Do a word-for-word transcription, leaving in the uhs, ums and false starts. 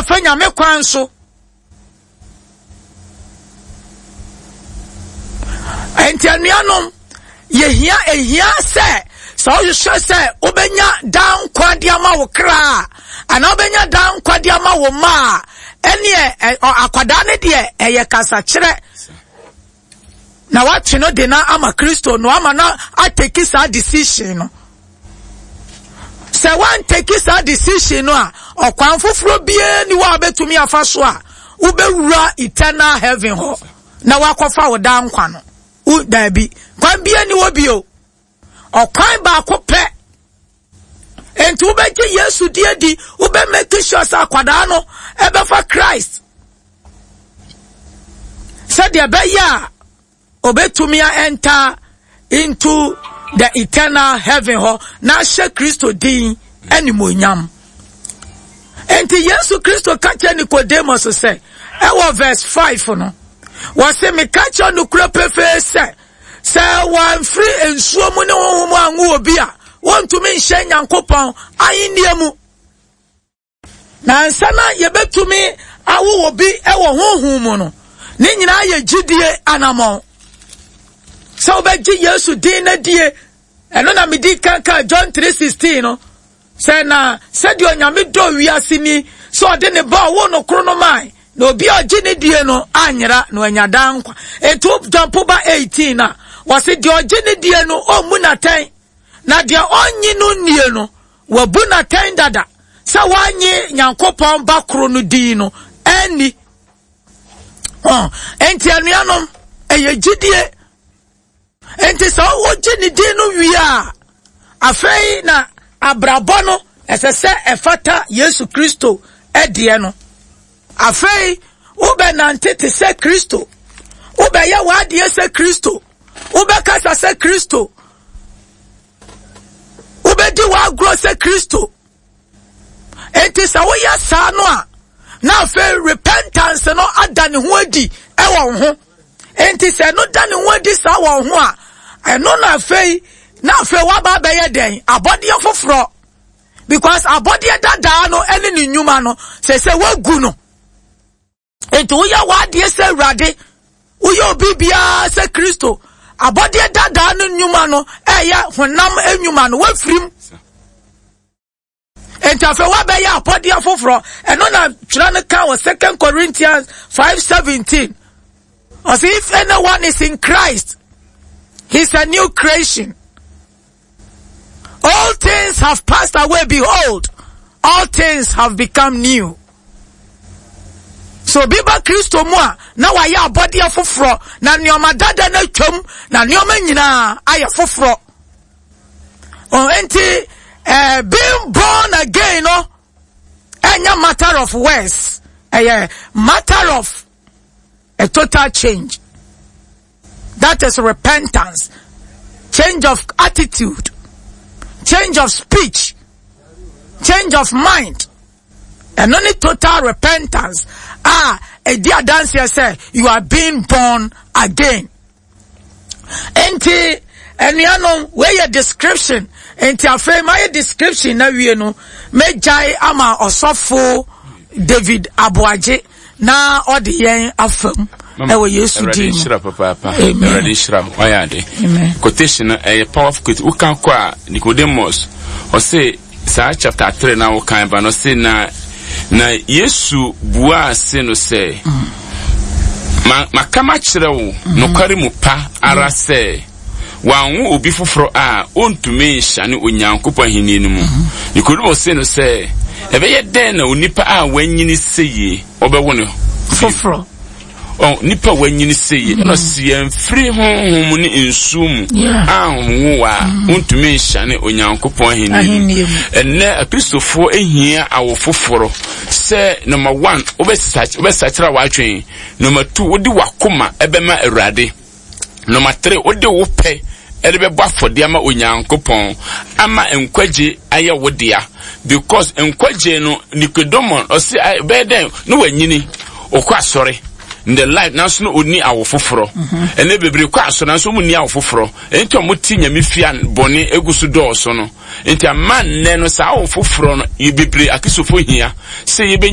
Ɛmfa Nyame kwan so. Enti anuanom, yɛhia ehia sɛ sɛ wohwehwɛ sɛ wobɛnya daa nkwa de ama wo kra a, anaa wobɛnya daa nkwa de ama wo mma a, ɛneɛ akwadaa no deɛ ɛyɛ kasakyerɛ na watwe no de no ama Kristo no ama no ateki saa decision no. Sɛ wanteki saa decision no a, ɔkwan foforɔ biara ni hɔ a wobɛtumi afa so a wobɛwura eternal heaven hɔ na wakɔfa wo daa nkwa no. Wo daabi, kwan biara ni hɔ bio. Ɔkwan baako pɛ. Enti wobɛgye Yesu di adi, wobɛ make sure sɛ akwadaa no ɛbɛfa Christ. Sɛdeɛ ɛbɛyɛ a obetumi a enter into the eternal heaven hɔ na ahyɛ Kristo din animuonyam. Enti Yesu Kristo ka kyerɛ Nicodemus sɛ, ɛwɔ verse five no, wɔse meka kyerɛ nokorɛ pefee sɛ, sɛ wɔamfiri nsuo mu ne honhom mu anwo obi a, wɔntumi nhyɛ Nyankopɔn ahennie mu. Na ansa na yɛbɛtumi awo obi wɔ honhom mu no, ne nyinaa yɛ gyidie anammɔn. Sɛ wobɛgye Yesu din no adie, ɛno na medi kan kaa John three sixteen no, sɛ na sɛdeɛ Onyame dɔ wiase ni, sɛ ɔde ne ba ɔwoo no koro no mae, na obi a ɔgye ne die no anyera na wanya daa nkwa. Enti John po ba eighteen a, wɔse deɛ ɔgye ne die no ɔmmu n'atɛn, na deɛ ɔnnye no nnie no, wabu n'atɛn dada sɛ wanye Nyankopɔn ba koro no din no anni. Oh, enti anuanom, ɛyɛ gyidie. Enti sɛ wogye ne din no wie a, afei na abrabɔ no ɛsɛ sɛ ɛfata Yesu Kristo ɛdeɛ no. Afei wobɛnante te sɛ Kristo, wobɛyɛ w'adeɛ sɛ Kristo, wobɛkasa sɛ Kristo, wobɛdi w'agorɔ sɛ Kristo. Enti sɛ woyɛ saa no a, na afei repentance no ada ne ho adi ɛwɔ wo ho. Enti sɛ ɛno da ne ho adi saa wɔ wo ho a, ɛno na afei na afei waba abɛyɛ dɛn? Abɔdeɛ foforɔ. Because abɔdeɛ dadaa no ɛne ne nnwuma no, sɛ sɛ woagu no. Enti woyɛ w'adeɛ sɛ Awurade, woyɛ obi biara sɛ Kristo, abɔdeɛ dadaa no nnwuma no ɛyɛ honam nnwuma no, woafirim. Enti afei woabɛyɛ abɔdeɛ foforɔ. Ɛno na twerɛ no ka wɔ Second Corinthians five seventeen. Ɔse, if anyone is in Christ, he's a new creation. All things have passed away. Behold, all things have become new. So obi ba Kristo mu a, na wayɛ abɔdeɛ foforɔ, na nneɛma dada no atwam, na nneɛma nyinaa ayɛ foforɔ. Oh, enti, eh, being born again no, ɛnyɛ matter of words, ɛyɛ matter of a total change. That is repentance, change of attitude, change of speech, change of mind. Ɛno ne total repentance a ɛdi adanseɛ sɛ you are being born again. Enti anuanom, wei yɛ description. Enti afei mayɛ description na wie no, mɛgyae ama ɔsɔfo David Aboagye na ɔde yɛn afam ɛwɔ Yesu din mu. Awurade nhyira papaapa. Awurade nhyira wo. Wayɛ ade. Quotation no ɛyɛ powerful quotation. Woka kɔ a Nicodemus ɔse saa chapter three na wokan ba no ɔse na na Yesu buaa se no sɛ ma maka makyerɛ wo nokware mu pa ara sɛ wanwo obi foforɔ a ɔntumi nhyɛne Onyankopɔn ahenni no mu. Nicodemus se no sɛ ɛbɛyɛ dɛn na onipa a wanyini sɛ ɔbɛwo no foforɔ? Oh, nipa wanyini sɛ yie ɛna ɔsi yɛn firi honhom ne nsuo mu a honhom wo a wontumi nhyɛne Onyankopɔn ahenni mu. Ɛnɛ Akristofoɔ ehia awo foforɔ sɛ number one, wobɛsakyera w'adwene. Number two, wode w'akoma ɛbɛma Awurade. Number three, wode wo pɛ ɛde bɛbɔ afɔdeɛ ama Onyankopɔn ama nkwagye ayɛ wo dea. Because nkwagye no, Nicodemus ɔsi bɛyɛ dɛn na wanyini ɔkɔ asɔre in the life nanso no onni awo foforɔ. Ɛnɛ bebree kɔ asɔre nanso wɔn nni awo foforɔ. Nti wɔn ti Nyame fia bɔne egu so dɔɔso no. Nti ama nnɛ no saa awo foforɔ no yɛ bebree Akristofoɔ hia sɛ yɛbɛnya